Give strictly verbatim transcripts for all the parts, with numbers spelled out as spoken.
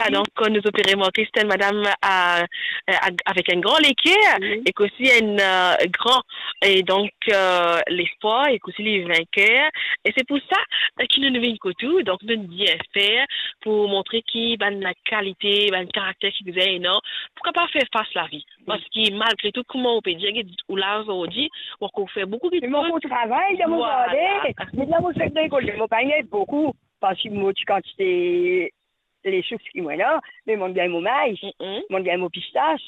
Ah, donk, kouma nou pe remarke, se enn madam, euh, euh, avek enn gran leker, wi, ek osi enn, euh, gran, e donk, euh, lespwar, ek osi li vinker. E se pou sa, euh, ki nou, nou vinn kot ou, donk nou dir fer pou montre ki bann kalite, bann karakter ki bizin ena pou kapav fer fas lavi. Wi. Paski malgre tou, kouma ou pe dir, ou la zordi, ou ankor fer boukou kiksoz. Me mo ankor travay dan mo zarden. Vwala. Me la mo fek rekolte, mo pa gagn boukou, paski mo ti kantite lesouf ki mo ena, me mo gagn mo may, mm, mo gagn mo pistas,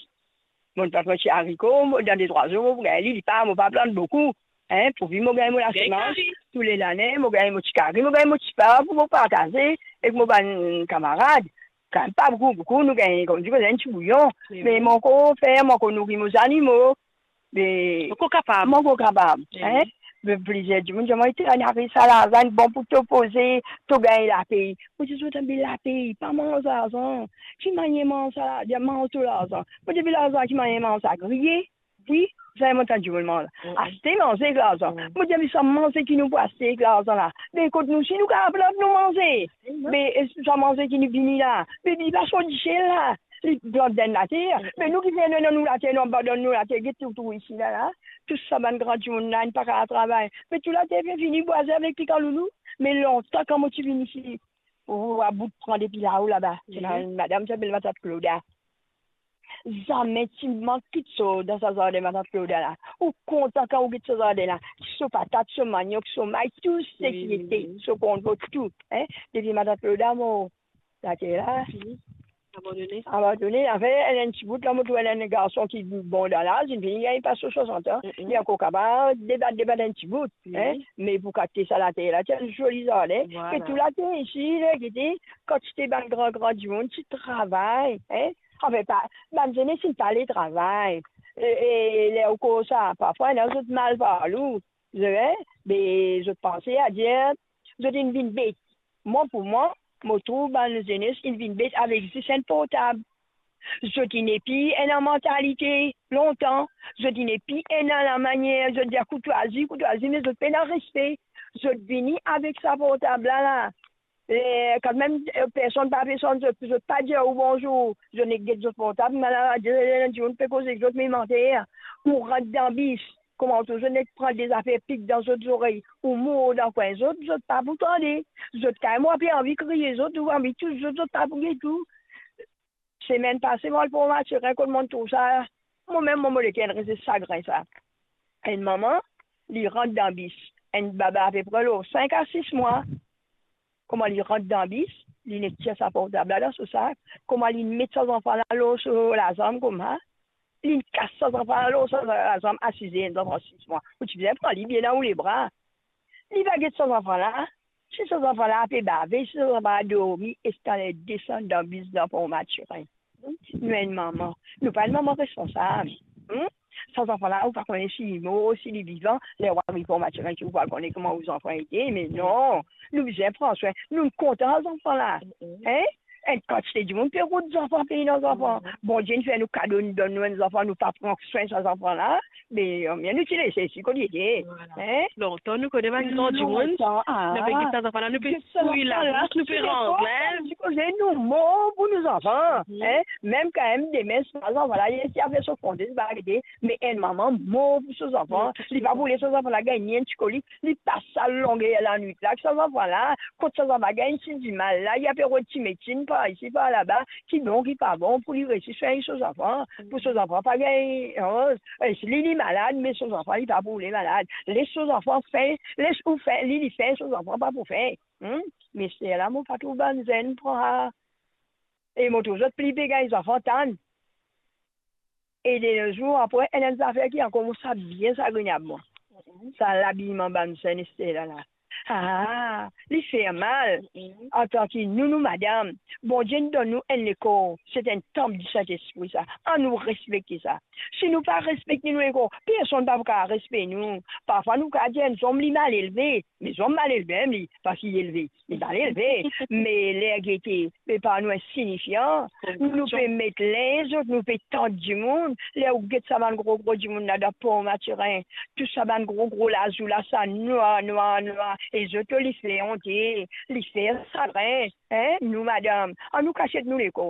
mo plant mo ti ariko, mo, dan de trwa zour, mo pou gagn li, li pa, mo pa plant boukou, hein, pourvi mo gagn mo lasemans. Gagn kari. Tou le lane, mo gagn mo ti kari, mo gagn mo ti pa pou mo partaze ek mo bann kamarad. Kan pa boukou, boukou, nou gagn, kouma dir, enn ti bouyon. Me wi. Me mo ankor fer, mo ankor nouri mo zanimo. Me mo ankor kapav. Mo ankor kapav, hein? Me plizier dimoun dir mwa, "Te ariv sa larzan, bon pou to poze, to gagn lapey." Mo dir zot, "Be lapey, pa manz larzan. Ki manier manz sa la, manz to larzan?" Mo dir, "Be larzan, ki manier manz sa? Griye?" Wi, sa mo tann dimoun manz. Mm. Aste manze ek larzan. Mm. Mo dir, "Me sa manze ki nou pou aste ek larzan la, be kot nou si nou kapav plant nou manze?" Mm. Be, e sa manze ki nou vini la, be li pa sot disel la. Li plant dan later, mm, me nou ki fer nou, nou later, nou abandonn nou later, get tou, tou isi la, la. Tou sa bann gran dimoun la, inn pa kapav travay. Me tou later finn vini bwaze avek pika loulou. Me lontan kan mo ti vinn isi, ou, ou a bout pran depi lao laba. Se la, mhm, madam ti apel matant Kloda. Zame ti mank kiksoz dan sa zarden matant Kloda la. Ou kontan kan ou get so zarden la. So patat, so maniok, so may, tou seki, wi, ete, wi, so konvo, tou, hein. Depi matant Kloda mor, later la. Fini. Abandone. Abandone. Anfin, enn, enn ti bout la, mo trouv enn, enn garson ki bon dan laz, li finn gagn pas so swasant an. Mm, mm. Li ankor kapav debat, debat enn ti bout, wi, hein. Me pou kate sa later la, ti enn zoli zarden. Vwala. E tou later isi, la, gete, kantite bann gran, gran dimoun ti travay, hein. Anfin, pa, bann zenes inn pa ale travay. E, e, e ler ou koz sa, parfwa, ena zot mal parlou. Zot, hein, be zot panse a dir, zot inn vinn bet. Mwa, pou mwa, mo trouv bann zenes inn vinn bet avek zis enn portab. Zot inn nepli ena mantalite lontan, zot inn nepli ena lamanier, zot dir kourtwazi, kourtwazi, me zot pena respe. Zot vini avek sa portab la, la. E, kanmem, e, personn pa pe sonn zot, zot pa dir ou bonzour, zot nek get zot portab, me la, dimoun pe koz ek zot, me manter, ou rant dan bis, kouma ou touzour nek pran de zafer pik dan zot zorey, ou mour dan kwin zot, zot pa pou tande. Zot kay, mwa pe anvi kriye zot, ou anvi tous zot, zot pa pou get ou. Semenn pase, mo al Port Mathurin, kot monn trouv sa, momem, mo, mo leker inn reste sagrin sa. Enn mama, li rant dan bis, enn baba apepre lor sink a sis mwa. Kouma li rant dan bis, li nek tir sa portab la dan so sak. Kouma li met sa zanfan la lor so lazanm kouma, li kas sa zanfan la lor so lazanm, asize enn zanfan sis mwa. Ou ti bizin pran li bien dan ou lebra. Li pa get sa zanfan la. Si sa zanfan la pe bave, si sa zanfan la dormi, e sa ler desann dan bis dan Port Mathurin. Hmm? Nou enn mama. Nou pa enn mama responsab. Hmm? Sa zanfan la, ou pa kone si li mor, si li vivan, ler ou ariv Port Mathurin, ki ou pou al kone kouma ou zanfan ete, me non, nou bizin pran swin, nou kontan sa zanfan la. Mm-mm. Hein? Enn kantite dimoun pe rod zanfan, pey dan zanfan. Mm. Bondie inn fer nou kado, inn donn nou enn zanfan, nou pa pran swin sa zanfan la. Me, euh, nou ti les li kot li ete. Vwala. Hein? Lontan nou kone bann gran dimoun, lontan, ah, nou pe get sa zanfan la, nou pe fouy labous, nou pe ranz linz. Ti koze nou mor pou nou zanfan, mhm, hein? Mem kan mem demin, sa zanfan la, li ti ape so fonde, li pa gete, me enn mama mor pou so zanfan, li pa pou les so zanfan la gagn ni enn ti kolik, li pas sa longer lanwit la, ki sa zanfan la, kot sa zanfan la gagn ti dimal la, li ape rod ti medsin par isi, par laba, ki bon, ki pa bon, pou li resi swagn so zanfan, pou so zanfan pa gagn, oh, e si li, li malad, me so zanfan, li pa pou li malad. Les so zanfan fin, les ou fin, li, li fin, so zanfan pa pou fin. Hmm? Me se la, mo pa trouv bann zenn pran sa. E mo trouv zot pli pe gagn zanfan tann. E de no zour, apre, enn, enn zafer ki ankor mo sa bien sagrinab mwa. Sa labiman bann zenn Estela la. Ah, li fer mal. Mm. Antan ki nou, nou madam, Bondie inn donn nou enn lekor, se enn tanp di Sintespri sa. Annou respekte sa. Si nou pa respekte nou lekor, personn pa pou kapav respekte nou. Parfwa nou kapav dir enn zom li mal elve, me zom mal elve mem li, paski li elve, li mal elve. Me ler gete, me par nou insignifian, nou, nou pe met linz zot, nou pe tant dimoun. Ler ou get sa bann gro, gro dimoun la dan Port Mathurin, tou sa bann gro, gro lazour la, sa nwar, nwar, nwar, e zot, li fer onte, li fer sagrin, hein, nou madam, annou kasiet nou lekor.